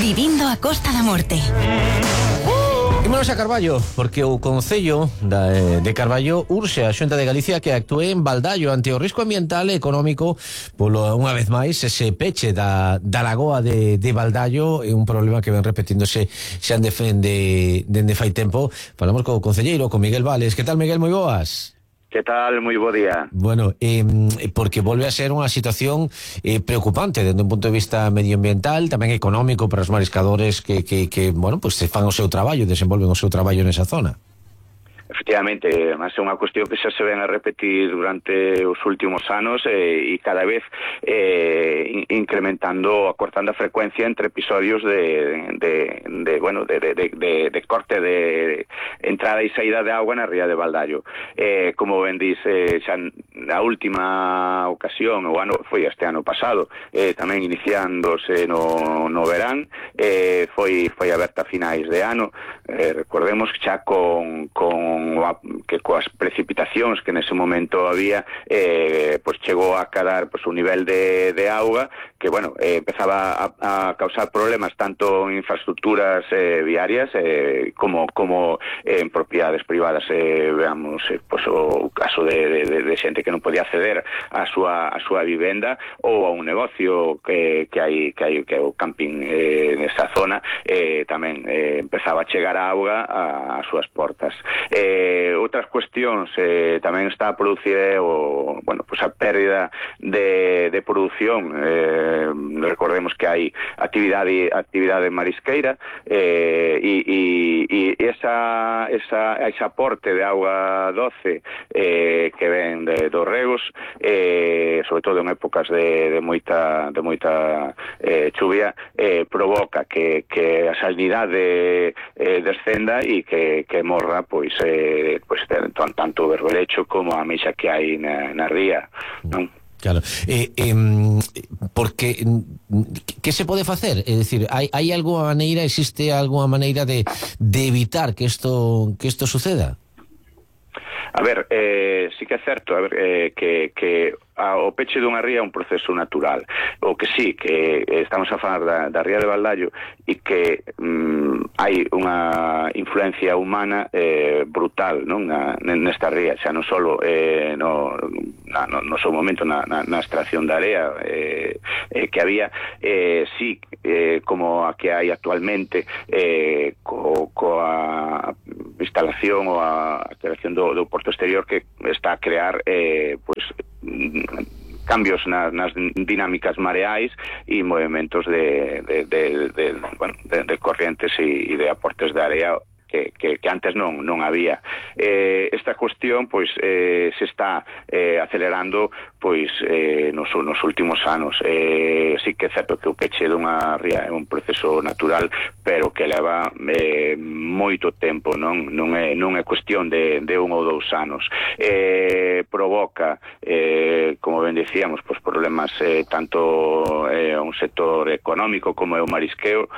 Vivindo a Costa da Morte. Ímonos a Carballo, porque o Concello de Carballo urxe a Xunta de Galicia que actúe en Baldaio ante o risco ambiental e económico polo, unha vez máis, ese peche da lagoa de Baldaio é un problema que ven repetíndose xa dende fai tempo. Falamos co concelleiro, con Miguel Vales. Que tal, Miguel? Moi boas. Que tal? Moi bo día. Bueno, porque volve a ser unha situación preocupante desde un punto de vista medioambiental, tamén económico para os mariscadores que bueno, pues se fan o seu traballo, desenvolven o seu traballo nesa zona. Efectivamente, mas é unha cuestión que xa se ven a repetir durante os últimos anos e cada vez incrementando, acortando a frecuencia entre episodios de corte de entrada e saída de agua na ría de Baldaio. Como ben dice, xa na última ocasión, o ano foi este ano pasado, tamén iniciándose no verán, foi aberta a finais de ano. Recordemos que xa con coas precipitacións que nese momento había, pois chegou a cadar pois un nivel de auga que, bueno, empezaba a causar problemas tanto en infraestructuras viarias como en propiedades privadas. Veamos pois o caso de xente que non podía acceder á súa vivenda ou a un negocio que hai que é o camping nesa zona, tamén empezaba a chegar a auga ás súas portas. Outras cuestións tamén está a producir a pérdida de produción. Recordemos que hai actividade marisqueira e ese aporte de auga doce que ven dos regos, sobre todo en épocas de moita chuvia, provoca que a salinidade descenda e que morra pois tanto o berberecho como a ameixa que hai na ría, non? Claro, porque que se pode facer? É dicir, hai algunha maneira, existe algunha maneira de evitar que isto suceda? A ver, sí que é certo, que o peche dunha ría é un proceso natural. O que sí, que estamos a falar da ría de Baldaio e que hai unha influencia humana brutal, non, nesta ría, xa non só no seu momento na extracción da area que había, sí, como a que hai actualmente coa instalación ou a creación do porto exterior, que está a crear cambios nas dinámicas mareais e movimentos de corrientes e de aportes de area que antes non había. Esta cuestión pois se está acelerando pois nos últimos anos. Sí que é certo que o peche dunha ría é un proceso natural, pero que leva moito tempo, non é cuestión de 1 ou 2 anos. Provoca, como ben dicíamos, pois problemas tanto a un sector económico como é o marisqueo,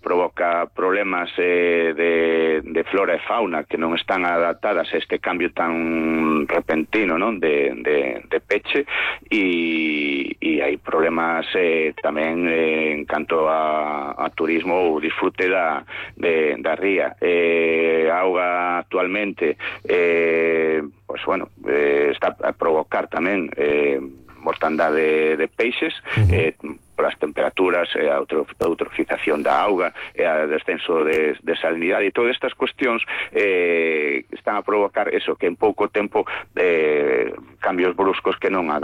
provoca problemas de flora e fauna que non están adaptadas a este cambio tan repentino, non, de peche, e hai problemas tamén en canto a turismo ou disfrute da ría. A auga actualmente está a provocar tamén mortandade de peixes, polas temperaturas, a eutrofización da auga, a descenso de salinidade, e todas estas cuestións están a provocar eso, que en pouco tempo cambios bruscos que non se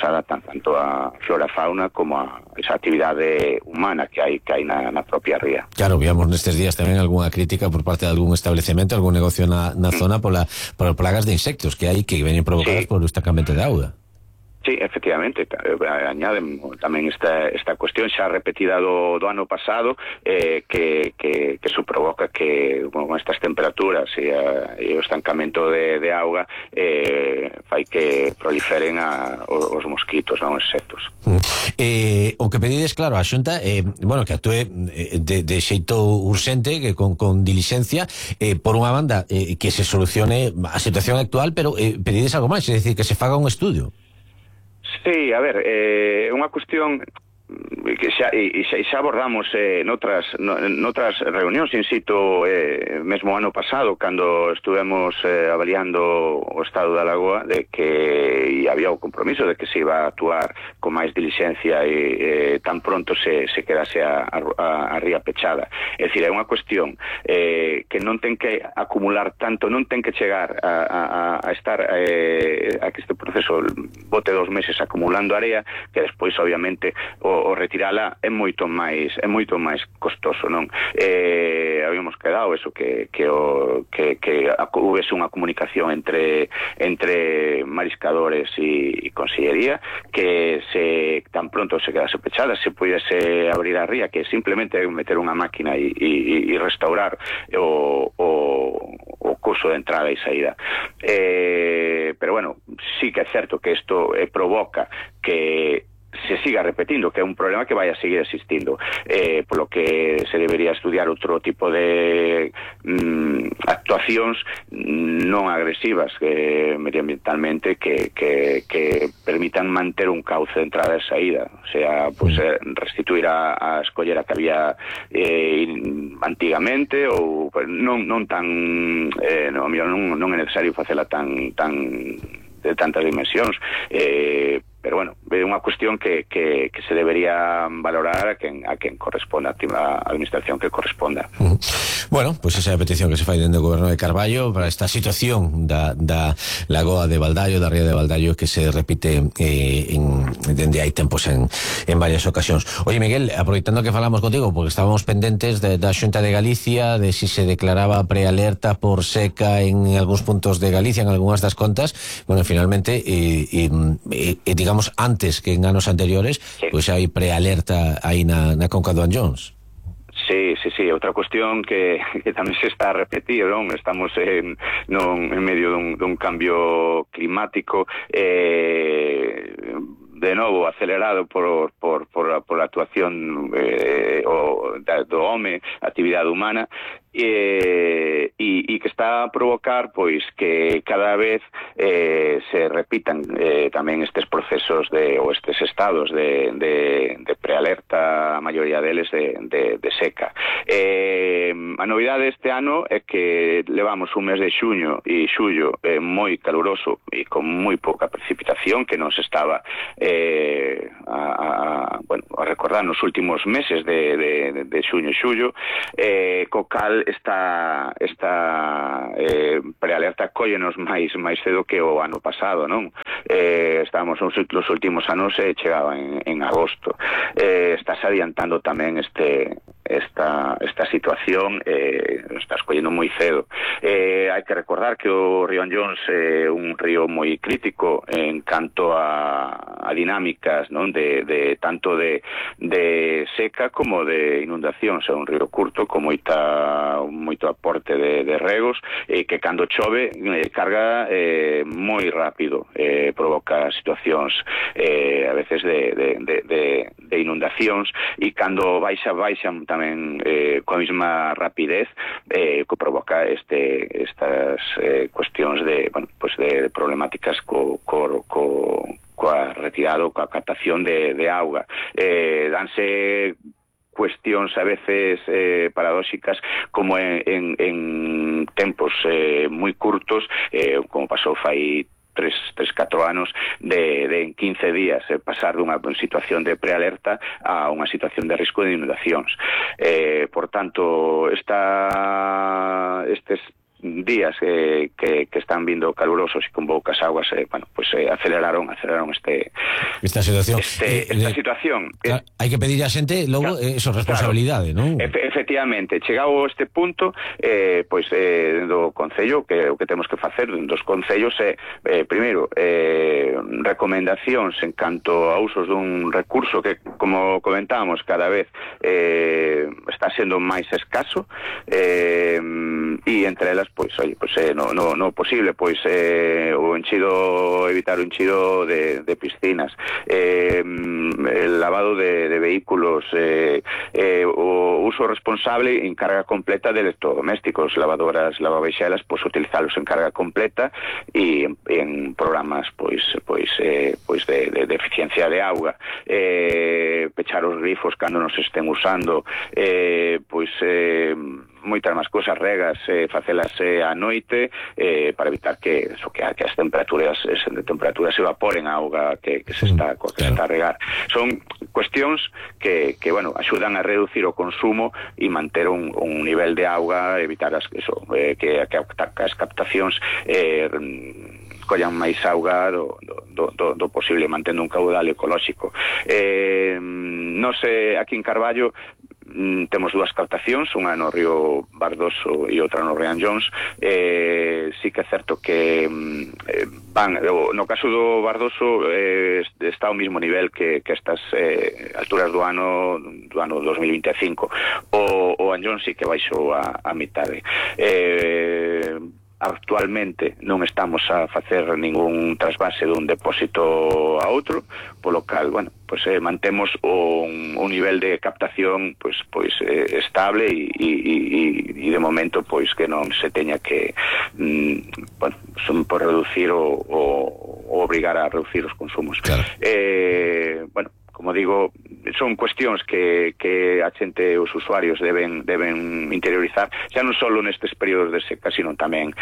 adaptan tanto a flora e fauna como a esa actividade humana que hai na propia ría. Claro, víamos nestes días tamén algunha crítica por parte de algún establecemento, algún negocio na zona por plagas de insectos que hai que veñen provocadas por o estancamento de auga. Sí, efectivamente, añaden tamén esta cuestión xa repetida do ano pasado, que su provoca que con estas temperaturas e o estancamento de auga fai que proliferen os mosquitos, non, os insectos. O que pedides, claro, a Xunta, que actúe de xeito urxente, que con dilixencia, por unha banda, que se solucione a situación actual, pero pedides algo máis, é dicir, que se faga un estudio. Sí, a ver, é unha cuestión que xa abordamos noutras reunións, insisto, mesmo ano pasado, cando estuvemos avaliando o estado da lagoa, de que había o compromiso de que se iba a actuar con máis dilixencia e tan pronto se quedase a ría pechada. É dicir, é unha cuestión que non ten que acumular tanto, non ten que chegar a estar a que este proceso bote 2 meses acumulando area, que despois obviamente o retirala é moito máis costoso, non? Habíamos quedado eso, que houvese unha comunicación entre mariscadores e consellería, que se tan pronto se quedase pechada se pudiese abrir a ría, que simplemente meter unha máquina e restaurar o curso de entrada e saída. Pero bueno, sí que é certo que isto provoca que se siga repetindo, que é un problema que vai a seguir existindo, polo que se debería estudiar outro tipo de actuacións non agresivas medioambientalmente que permitan manter un cauce de entrada e saída, o sea, pues, restituir a escollera que había antigamente, ou pues, non é necesario facela tan de tantas dimensións, pero bueno, é unha cuestión que se debería valorar a quen corresponda, a administración que corresponda. Bueno, pues esa é a petición que se fai dende o goberno de Carballo para esta situación da lagoa de Baldaio, da ría de Baldaio, que se repite dende hai tempos en varias ocasións. Oye, Miguel, aproveitando que falamos contigo, porque estábamos pendentes da Xunta de Galicia, de si se declaraba prealerta por seca en algúns puntos de Galicia, en algunhas das contas. Bueno, finalmente, digamos, antes que en anos anteriores, sí, pois hai prealerta aí na conca do Anllóns. Sí, outra cuestión que tamén se está a repetir, non? Estamos en medio dun cambio climático de novo acelerado por a actuación do home, actividade humana, e que está a provocar pois que cada vez se repitan tamén estes procesos ou estes estados de prealerta, a maioría deles de seca. A novidade este ano é que levamos un mes de xuño e xullo moi caluroso e con moi pouca precipitación, que non se estaba a recordar nos últimos meses de xuño e xullo, co cal esta prealerta cóllenos máis cedo que o ano pasado, non? Estábamos nos últimos anos chegaba en agosto. Estás adiantando tamén esta situación, estás collendo moi cedo. Hai que recordar que o río Anllóns é un río moi crítico en canto a dinámicas, non? De tanto de seca como de inundacións. É un río curto con moito aporte de regos, que cando chove carga moi rápido, provoca situacións a veces de inundacións, e cando baixan tamén coa mesma rapidez, que provoca estas cuestións de problemáticas coa retirada, coa captación de auga. Danse cuestións a veces paradóxicas, como en tempos moi curtos, como pasou fai 3-4 anos, de en 15 días pasar dunha situación de prealerta a unha situación de risco de inundacións. Por tanto, estes días que están vindo calurosos e con poucas aguas, aceleraron esta situación. Esta situación. Hai que pedir a xente logo eso, responsabilidade, non? Efectivamente, chegado este punto, do Concello, que o que temos que facer dos concellos é, primeiro, recomendacións en canto a usos dun recurso que, como comentábamos, cada vez está sendo máis escaso, e entre elas, pois, no posible, pois, o enchido, evitar o enchido de piscinas, el lavado de vehículos, o uso responsable en carga completa de electrodomésticos, lavadoras, lavavexelas, pois utilizalos en carga completa e en programas de eficiencia de auga, pechar os grifos cando nos estén usando, moitas máis cousas, regas, facelas a noite, para evitar que as temperaturas se evaporen a auga que se está a regar. Son cuestións que axudan a reducir o consumo e manter un nivel de auga, evitar que as captacións collan máis auga do posible, mantendo un caudal ecolóxico. Nos, aquí en Carballo, temos dúas captacións, unha no río Bardoso e outra no río Anllóns. Sí que é certo que no caso do Bardoso está ao mismo nivel que estas alturas do ano 2025. O Anllóns sí que baixou a mitade. Actualmente non estamos a facer ningún trasvase dun depósito a outro, polo cal, mantemos un nivel de captación estable e de momento que non se teña que por reducir ou obrigar a reducir os consumos. Claro. Como digo, son cuestións que a xente, os usuarios deben interiorizar, xa non só nestes períodos de seca, sino tamén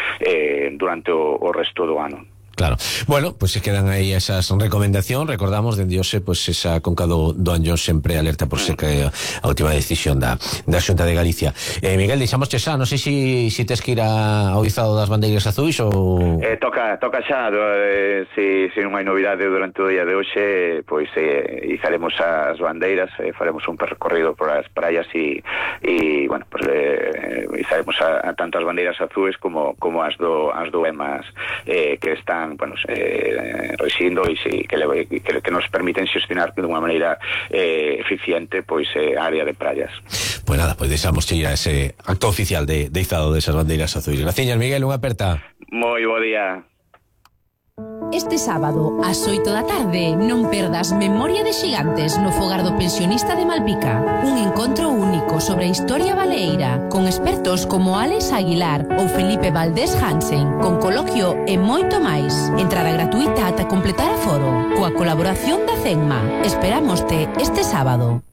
durante o resto do ano. Claro. Bueno, pues se quedan aí esas recomendacións. Recordamos, dende hoxe, pues esa conca do Anllóns sempre alerta por seca, a última decisión da Xunta de Galicia. Miguel, deixamos xa, non sei se tes que ir ao izado das bandeiras azuis ou... Toca xa, se non hai novidade durante o día de hoxe, pois izaremos as bandeiras, faremos un percorrido por as praias e izaremos tanto as bandeiras azuis como as do EMAS, que están residindo e que nos permiten xestionar de unha maneira eficiente a área de praias. Pois nada, deixamos ir a ese acto oficial de izado desas bandeiras azuis. Graciñas, Miguel, unha aperta. Moi bo día. Este sábado, ás 8 da tarde, non perdas Memoria de Xigantes no fogar do pensionista de Malpica. Un encontro único sobre a historia baleeira, con expertos como Alex Aguilar ou Felipe Valdés Hansen, con coloquio e moito máis. Entrada gratuita ata completar aforo, coa colaboración da CENMA. Esperámoste este sábado.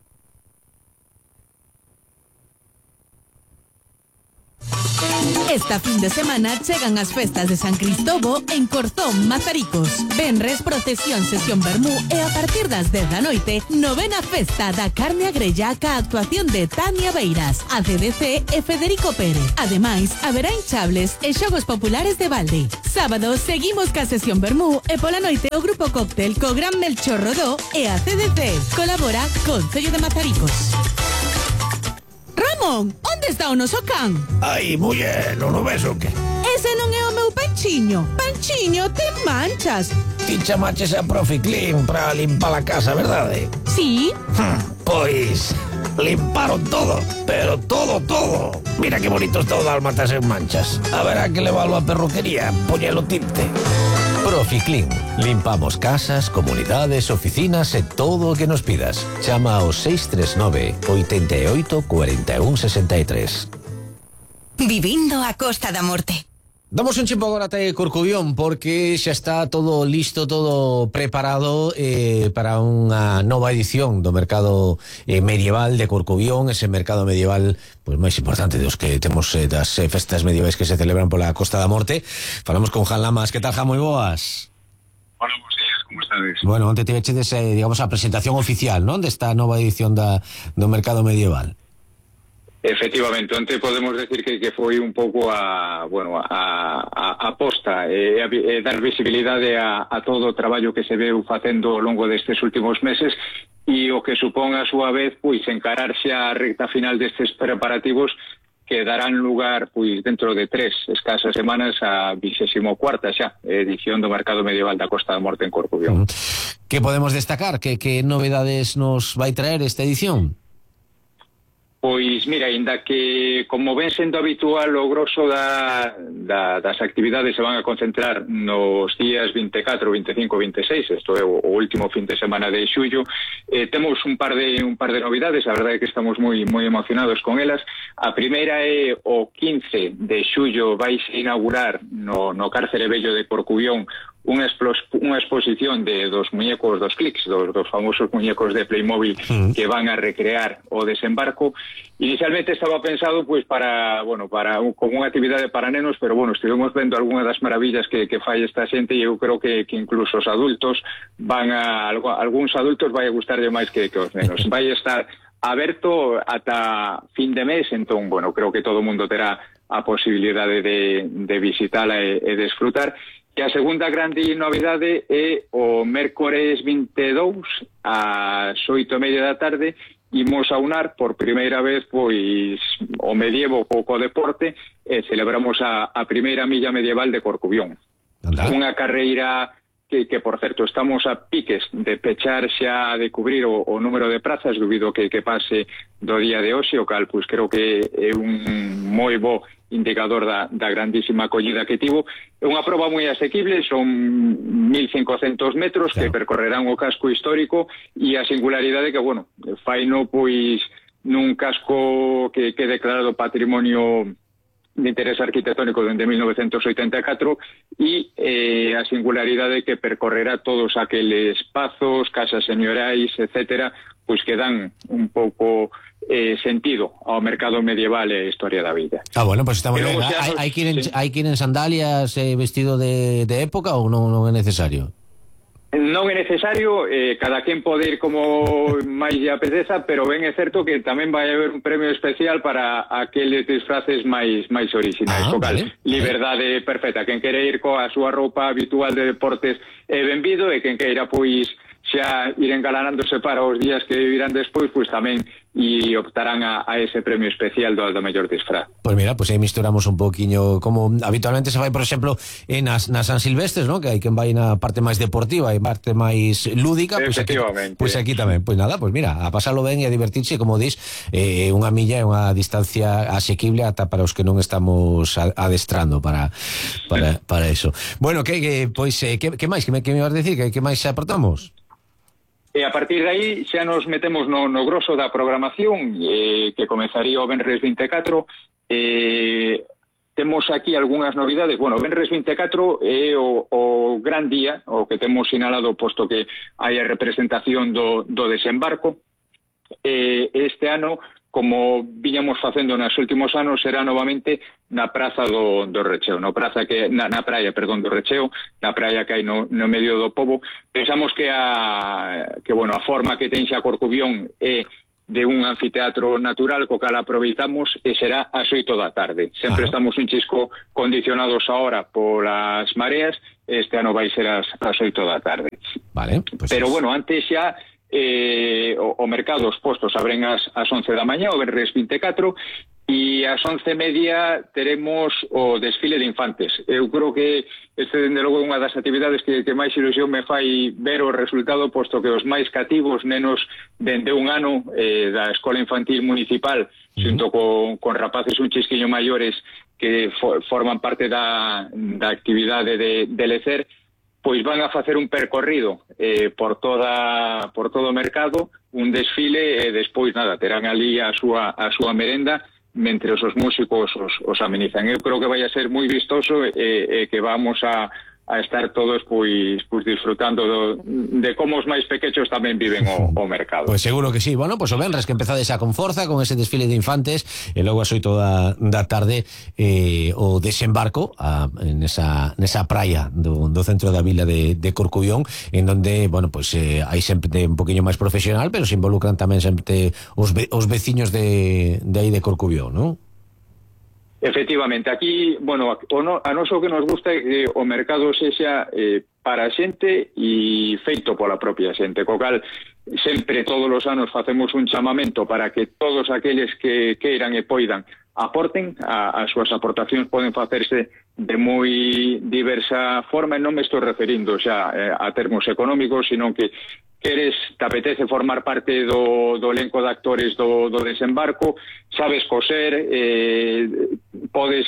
Esta fin de semana chegan as festas de San Cristobo en Corzón, Mazaricos. Venres, procesión, sesión vermú e a partir das 10 da noite, novena festa da carne agrella ca actuación de Tania Beiras, ACDC e Federico Pérez. Ademais, haberá hinchables e xogos populares de balde. Sábado, seguimos ca sesión vermú e pola noite o grupo cóctel co Gran Melchor Rodó e ACDC. Colabora Concello de Mazaricos. Ramón, onde está o noso can? Ai, muller, non o ves o que? Ese non é o meu Panchiño. Panchiño, ten manchas. Ti chamaches a Profi Clean para limpar a casa, verdade? Sí. Pois limparon todo, pero todo. Mira que bonito está o dálmatas en manchas. Haberá que leválo a perruquería, poñelo tinte. Proficlin. Limpamos casas, comunidades, oficinas e todo o que nos pidas. Chama ao 639 88 41 63. Vivindo a Costa da Morte. Damos un chimpo agora até Corcubión porque xa está todo listo, todo preparado para unha nova edición do mercado medieval de Corcubión, ese mercado medieval pois máis importante dos que temos das festas medievais que se celebran pola Costa da Morte. Falamos con Jan Lamas. Que tal, Jan? Moi boas. Hola, bons días, como estades? Bueno, onte tivechedes, digamos, a presentación oficial, non? Desta nova edición do mercado medieval. Efectivamente, onte podemos decir que foi un pouco a aposta dar visibilidade a todo o traballo que se veu facendo ao longo destes últimos meses e o que supón a súa vez pois encararse a recta final destes preparativos que darán lugar pois dentro de 3 escasas semanas a 24ª xa edición do Mercado Medieval da Costa da Morte en Corcubión. Que podemos destacar? Que novedades nos vai traer esta edición? Pois, mira, ainda que, como ven sendo habitual, o grosso das actividades se van a concentrar nos días 24, 25, 26, isto é o último fin de semana de xullo, temos un par de novidades, a verdade é que estamos moi emocionados con elas. A primeira é o 15 de xullo vais inaugurar no Cárcere Vello de Corcubión unha exposición de dos muñecos dos clics, dos famosos muñecos de Playmobil que van a recrear o desembarco. Inicialmente estaba pensado pois para como unha actividade para nenos, pero estivemos vendo algunha das maravillas que fai esta xente, e eu creo que incluso os adultos algúns adultos vai a gustarlle máis que os nenos. Vai estar aberto ata fin de mes, entón, creo que todo o mundo terá a posibilidade de visitala e desfrutar. E a segunda grande novidade é o mércores 22 ás 8:30 da tarde imos a unar por primeira vez pois o medievo co deporte e celebramos a primeira milla medieval de Corcubión. Unha carreira que por certo estamos a piques de pechar xa de cubrir o número de prazas debido que pase do día de hoxe, o cal pois creo que é un moi bo indicador da grandísima acollida que tivo. É unha proba moi asequible, son 1.500 metros que percorrerán o casco histórico, e a singularidade que, faino pois nun casco que é declarado patrimonio de interés arquitectónico dende 1984, e a singularidade que percorrerá todos aqueles pazos, casas señorais, etcétera, pois que dan un pouco sentido ao mercado medieval e a historia da vida. Pues está moi ben. Hai que ir en sandalias vestido de época ou non é necesario? Non é necesario, cada quen pode ir como máis lle apeteza, pero ben é certo que tamén vai haber un premio especial para aqueles disfraces máis orixinais. Liberdade perfecta. Quen quere ir coa súa roupa habitual de deportes é benvido, e quen queira pois xa ir engalanándose para os días que virán despois, pois tamén e optarán a ese premio especial do mellor disfraz. Pois mira, aí misturamos un poquinho como habitualmente se fai, por exemplo, nas San Silvestres, ¿no? Que hai quen vai na parte máis deportiva e parte máis lúdica, pois aquí tamén. Pois nada, pois mira, a pasalo ben e a divertirse, como dis, unha milla é unha distancia asequible ata para os que non estamos adestrando para eso. Bueno, que máis? Que me vas decir? Que máis aportamos? E a partir de aí xa nos metemos no grosso da programación, que comenzaría o venres 24. Temos aquí algunhas novidades. Venres 24 é o gran día, o que temos sinalado, posto que hai a representación do desembarco. Este ano, como viñamos facendo nos últimos anos, será novamente na Praza do Recheo, na praia do Recheo, na praia que hai no medio do pobo. Pensamos que a forma que ten xa Corcubión é de un anfiteatro natural, co cal aproveitamos, e será ás 8 da tarde. Sempre estamos un chisco condicionados ahora polas mareas, este ano vai ser ás 8 da tarde. Pero antes xa o mercado, os postos abren ás 11 da mañá, o venres 24, e ás 11:30 teremos o desfile de infantes. Eu creo que este, dende logo, é unha das actividades que máis ilusión me fai ver o resultado, posto que os máis cativos, nenos dende un ano da Escola Infantil Municipal, xunto con rapaces un chisquiño maiores que forman parte da actividade de lecer, pois van a facer un percorrido por todo o mercado, un desfile, e despois terán ali a súa merenda mentre os músicos os amenizan. Eu creo que vai a ser moi vistoso e que vamos a estar todos pois disfrutando de como os máis pequenos tamén viven o mercado. Pois seguro que sí. O venres que empezades xa con forza con ese desfile de infantes, e logo as 8 da tarde o desembarco nesa praia do centro da vila de Corcubión, en donde, hai sempre un poquinho máis profesional, pero se involucran tamén sempre os veciños de aí de Corcubión, non? Efectivamente, aquí, a noso que nos gusta é que o mercado sexa para a xente e feito pola propia xente, co cal sempre todos os anos facemos un chamamento para que todos aqueles que queiran e poidan aporten. As súas aportacións poden facerse de moi diversa forma, e non me estou referindo xa a termos económicos, sino que te apetece formar parte do elenco de actores do desembarco, sabes coser, podes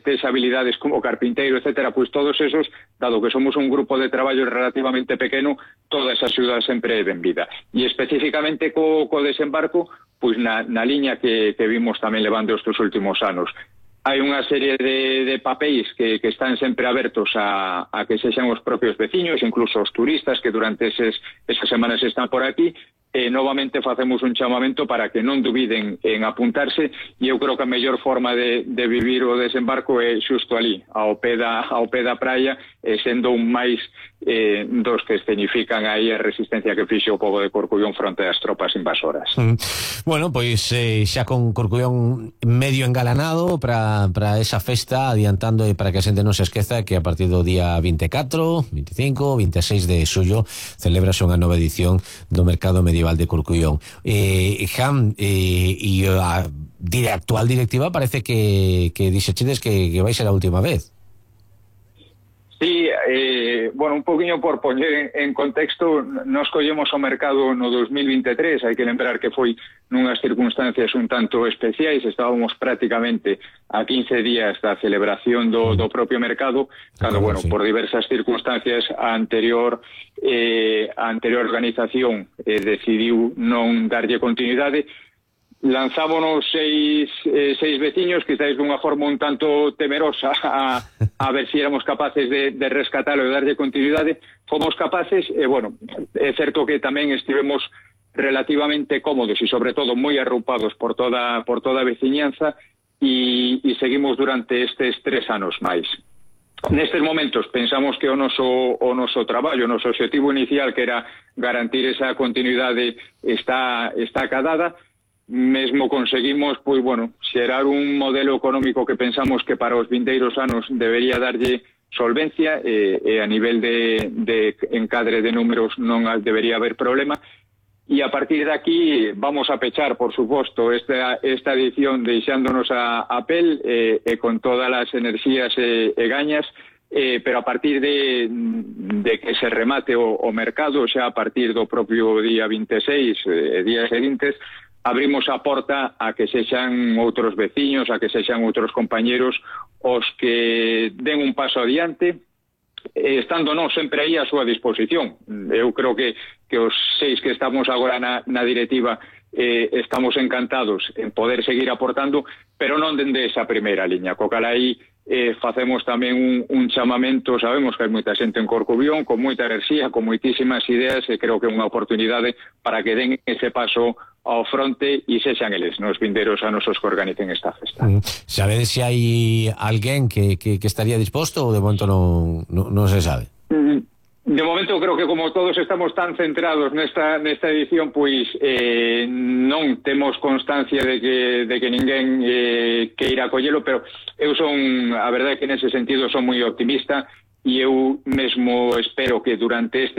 tes habilidades como carpinteiro, etcétera, pois todos esos, dado que somos un grupo de traballo relativamente pequeno, toda esa axuda sempre é benvida. E especificamente co desembarco, pois na liña que vimos tamén levando estes últimos anos. Hai unha serie de papéis que están sempre abertos a que sexan os propios veciños, incluso os turistas que durante esas semanas están por aquí, e novamente facemos un chamamento para que non dubiden en apuntarse, e eu creo que a mellor forma de vivir o desembarco é xusto ali, ao pé da praia, sendo un máis dos que escenifican aí a resistencia que fixe o pobo de Corcubión fronte ás tropas invasoras. Bueno, pois xa con Corcubión medio engalanado para esa festa, adiantando e para que a xente non se esqueza que a partir do día 24, 25, 26 de xullo celebrase unha nova edición do Mercado Medieval de Corcubión. Jan, e a actual directiva parece que dixechedes que vai ser a última vez. Sí, bueno, un poquinho por poñer en contexto, nos collemos o mercado no 2023, hai que lembrar que foi nunhas circunstancias un tanto especiais, estábamos prácticamente a 15 días da celebración do propio mercado, cando, bueno, por diversas circunstancias a anterior organización decidiu non darlle continuidade. Lanzámonos seis veciños, quizáis dunha forma un tanto temerosa a ver si éramos capaces de rescatalo e darlle continuidade. Fomos capaces, e bueno, é certo que tamén estivemos relativamente cómodos e sobre todo moi arroupados por toda a veciñanza, e seguimos durante estes 3 anos máis. Nestes momentos pensamos que o noso traballo, o noso objetivo inicial, que era garantir esa continuidade, está acadada. Mesmo conseguimos, pois, bueno, xerar un modelo económico que pensamos que para os vindeiros anos debería darlle solvencia, e a nivel de encadre de números non debería haber problema. E a partir de aquí vamos a pechar, por suposto, esta edición deixándonos a pel e con todas as enerxías e gañas, pero a partir de que se remate o mercado, xa a partir do propio día 26 e días seguintes, abrimos a porta a que sexan outros veciños, a que sexan outros compañeros os que den un paso adiante, estando non sempre aí a súa disposición. Eu creo que os 6 que estamos agora na directiva estamos encantados en poder seguir aportando, pero non dende esa primeira liña. Co cal aí facemos tamén un chamamento. Sabemos que hai moita xente en Corcubión con moita enerxía, con moitísimas ideas, e creo que é unha oportunidade para que den ese paso ao fronte e sexan eles nos vindeiros anos os que organicen esta festa. Sabedes se hai alguén que estaría disposto ou de momento non se sabe? De momento creo que como todos estamos tan centrados nesta edición, pois non temos constancia de que ninguén queira collelo, pero eu a verdade é que nese sentido son moi optimista, e eu mesmo espero que durante este